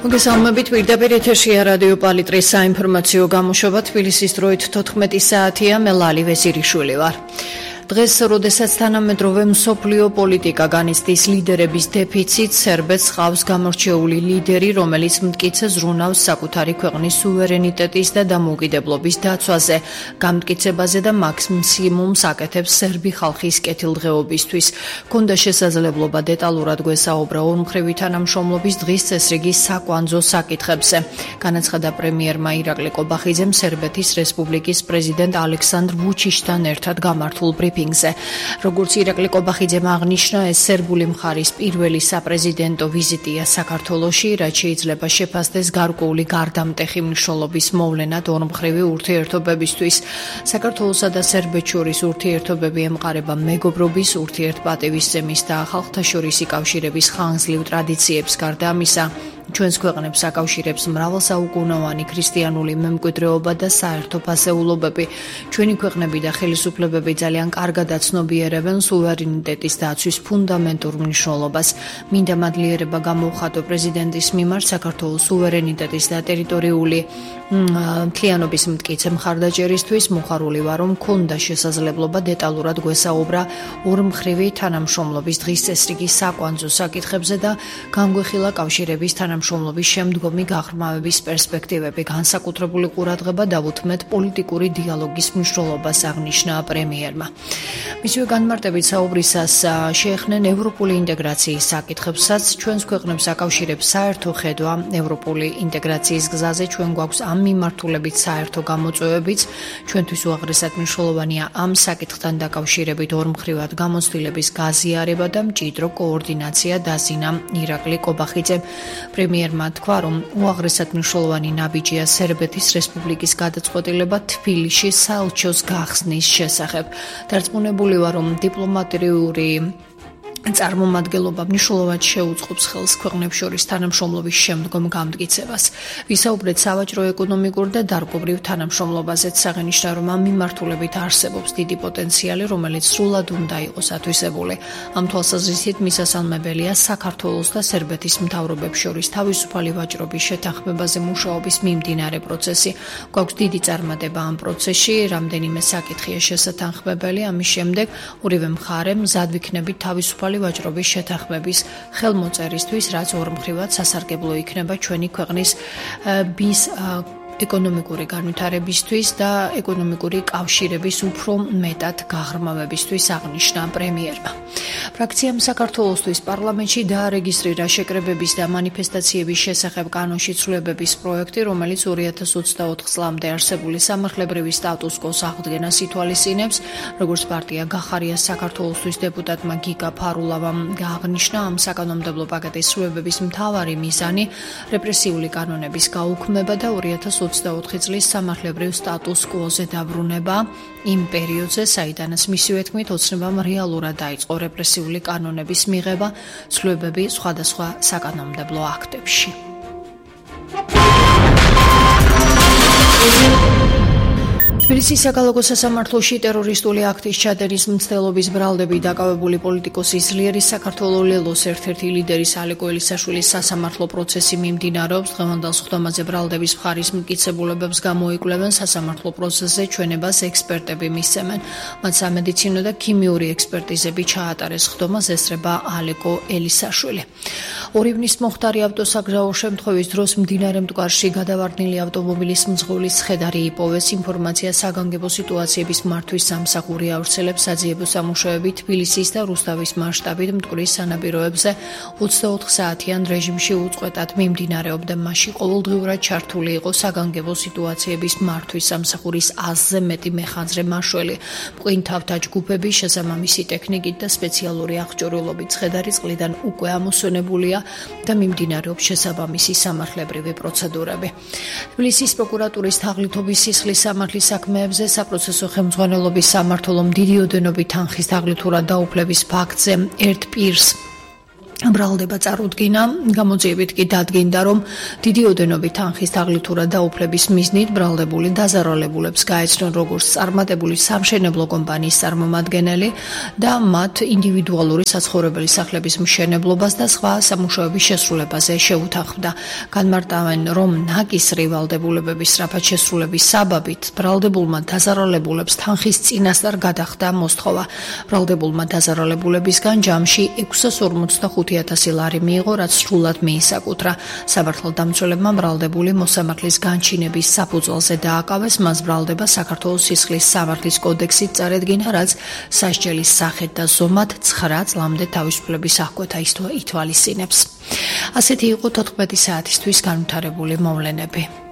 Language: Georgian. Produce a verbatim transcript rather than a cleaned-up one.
მოგესალმებით, პირდაპირ ეთერშია რადიო პალიტრის საინფორმაციო გამოშვება. თბილისის დროით თოთხმეტი საათია, მე ლალი ვეზირიშვილი ვარ. დღეს, როდესაც თანამედროვე მსოფლიო პოლიტიკა განიცდის ლიდერების დეფიციტს, სერბეთს ჰყავს გამორჩეული ლიდერი, რომელიც მტკიცე ზრუნავს საკუთარი ქვეყნის სუვერენიტეტის და დამოუკიდებლობის დაცვაზე, გამტკიცებაზე და მაქსიმუმს აკეთებს სერბი ხალხის კეთილდღეობისთვის. ჰქონდა შესაძლებლობა დეტალურად გვესაუბრა ორმხრივი თანამშრომლობის დღის წესრიგის საკვანძო საკითხებზე. განაცხადა პრემიერმა ირაკლი კობახიძემ სერბეთის რესპუბლიკის პრეზიდენტ ალექსანდრ ვუჩიჩთან ერთად გამართულ ბრიფინგზე. როგორც ირაკლი კობახიძემ აღნიშნა, ეს სერბული მხარის პირველი საპრეზიდენტო ვიზიტია საქართველოში, რაც შეიძლება შეფასდეს გარკვეული გარდამტეხი მნიშვნელობის მოვლენად ორმხრივი ურთიერთობებისთვის. საქართველოსა და სერბეთს შორის ურთიერთობები ემყარება მეგობრობის, ურთიერთპატივისცემის და ხალხთაშორისი კავშირების ხანგრძლივ ტრადიციებს. გარდა ამისა, ჩვენს ქვეყნებს აკავშირებს მრავალსაუკუნოვანი ქრისტიანული მემკვიდრეობა და საერთო ფასეულობები. ჩვენი ქვეყნები და ხელისუფლებები ძალიან კარგად აცნობიერებენ სუვერენიტეტის დაცვის ფუნდამენტურ მნიშვნელობას. მინდა მადლიერება გამოვხატო პრეზიდენტის მიმართ საქართველოს სუვერენიტეტის და ტერიტორიული მთლიანობის მტკიცე მხარდაჭერისთვის. მოხარული ვარ, რომ მქონდა შესაძლებლობა დეტალურად გვესაუბრა ორმხრივი თანამშრომლობის დღის წესრიგის საკვანძო საკითხებზე და გამგვეხილა კავშირების თანამშრომლობის შემდგომი გაღრმავების პერსპექტივები. განსაკუთრებული ყურადღება დავუთმეთ პოლიტიკური დიალოგის მნიშვნელობას, აღნიშნა პრემიერმა. მისივე განმარტებით საუბრისას შეეხნენ ევროპული ინტეგრაციის საკითხებსაც. ჩვენს ქვეყნებს აკავშირებს საერთო ხედვა ევროპული ინტეგრაციის გზაზე. ჩვენ გვაქვს ამ მიმართულებით საერთო გამოწვევებიც. ჩვენთვის უაღრესად მნიშვნელოვანია ამ საკითხთან დაკავშირებით ორმხრივად გამოცდილების გაზიარება და მჭიდრო კოორდინაცია, დაზინა ირაკლი კობახიძემ. პრემიერმა თქვა, რომ უაღრესად მნიშვნელოვანი ნაბიჯია სერბეთის რესპუბლიკის გადაწყვეტილება თბილისში საელჩოს გახსნის შესახებ. დარწმუნებული ვარ, რომ დიპლომატიური წარმომადგენლობა მნიშვნელოვნად შეუწყობს ხელს ქვეყნებს შორის თანამშრომლობის შემდგომ გამტკიცებას. ვისაუბრეთ სავაჭრო-ეკონომიკურ და დარგობრივ თანამშრომლობაზეც. აღინიშნა, რომ ამ მიმართულებით არსებობს დიდი პოტენციალი, რომელიც სრულად უნდა იყოს ათვისებული. ამ თვალსაზრისით მისასალმებელია საქართველოს და სერბეთის მთავრობებს შორის თავისუფალი ვაჭრობის შეთანხმებაზე მუშაობის მიმდინარე პროცესი. გვაქვს დიდი წარმატება ამ პროცესში, რამდენიმე საკითხია შესათანხმებელი. ამის შემდეგ ორივე მხარე მზად ვიქნებით თავისუფალი ვაჭრობის შეთანხმების ხელმოწერისთვის, რაც ორმხრივად სასარგებლო იქნება ჩვენი ქვეყნის ბის ეკონომიკური განვითარებისთვის და ეკონომიკური კავშირების უფრო მეტად გაღრმავებისთვის, აღნიშნა პრემიერმა. ფრაქციამ საქართველოსთვის პარლამენტში დაარეგისტრირა შეკრებების და მანიფესტაციების შესახებ კანონში ცვლილებების პროექტი, რომელიც ორი ათას ოცდაოთხ წლამდე არსებული სამართლებრივი სტატუს-კვოს აღდგენას ითვალისწინებს. როგორც პარტია გახარია საქართველოსთვის დეპუტატმა გიგა ფარულავამ აღნიშნა, ამ საკანონმდებლო პაკეტის ცვლილებების მთავარი მიზანი რეპრესიული კანონების გაუქმება და ორი ათას ოცდაოთხი წლის სამართლებრივ სტატუს-კვოზე დაბრუნება იმ პერიოდზე, საიდანაც მისივე თქმით ოცნებამ რეალურად დაიწყო რეპრესიული კანონების მიღება ცვლილებები სხვადასხვა საკანონმდებლო აქტებში. თბილისის საქალაქო სასამართლოში ტერორისტული აქტის ჩადენის მცდელობის ბრალდები დაკავებული პოლიტიკოსის ძლიერის საქართველოს ლელოს ერთ-ერთი ლიდერის ალეკო ელისაშვილის სასამართლო პროცესი მიმდინარეობს. დღევანდელ სხდომაზე ბრალდების მხარის მტკიცებულებებს გამოიკვლევენ. სასამართლო პროცესზე ჩვენებას ექსპერტები მისცემენ. მათ სამედიცინო და ქიმიური ექსპერტიზები ჩაატარეს. სხდომას ესწრება ალეკო ელისაშვილი. ორი ივნის მოხდარი ავტოსაგზაო შემთხვევის დროს მდინარე მტკვარში გადავარდნილი ავტომობილის მძღოლის ცხედარი იპოვეს. ინფორმაცია საგანგებო სიტუაციების მართვის სამსახური ავრცელებს. საძიებო სამუშაოები თბილისის და რუსთავის მასშტაბით მტკვრის სანაპიროებზე ოცდაოთხ საათიან რეჟიმში უწყვეტად მიმდინარეობდა. მასში ყოველდღიურად ჩართული იყო საგანგებო სიტუაციების მართვის სამსახურის ათზე მეტი მეხანძრე მაშველი. მყინთავთა ჯგუფები შესაბამისი ტექნიკით და სპეციალური აღჭურვილობით ცხედარი წყლიდან უკვე ამოსვენებულია და მიმდინარეობს შესაბამისი სამართლებრივი პროცედურები. თბილისის პროკურატურის თაღლითობის სისხლის სამართლის საქმეებზე საპროცესო ხელმძღვანელობის სამმართველომ დიდი ოდენობით თანხის თაღლითურად დაუფლების ფაქტზე ერთ პირს ბრალდება წარუდგინა, გამოძიებით კი დადგინდა, რომ დიდი ოდენობით თანხის თაღლითურა დაუფლების მიზნით ბრალდებული დაზარალებულებს გაეცნონ როგორც წარმატებული სამშენებლო კომპანიის წარმომადგენელი და მათ ინდივიდუალური საცხოვრებელი სახლების მშენებლობას და სხვა სამუშაოების შესრულებაზე შეუთანხმდა. განმარტავენ, რომ ნაკისრი ვალდებულებების სწრაფად შესრულების საბაბით ბრალდებულმა დაზარალებულებს თანხის წინასწარ გადახდა მოსთხოვა. ბრალდებულმა დაზარალებულებისგან ჯამში ექვსას ორმოცდახუთი ათასი ლარი მიიღო, რაც სრულად მიისაკუთრა. სამართალ დამცველებმა ბრალდებული მოსამართლის განჩინების საფუძველზე დააკავეს, მას ბრალდება საქართველოს სისხლის სამართლის კოდექსით წარედგინა, რაც სასჯელის სახით და ზომად ცხრა წლამდე თავისუფლების აღკვეთა ითვალისწინებს. ასეთი იყო თოთხმეტი საათისთვის განვითარებული მოვლენები.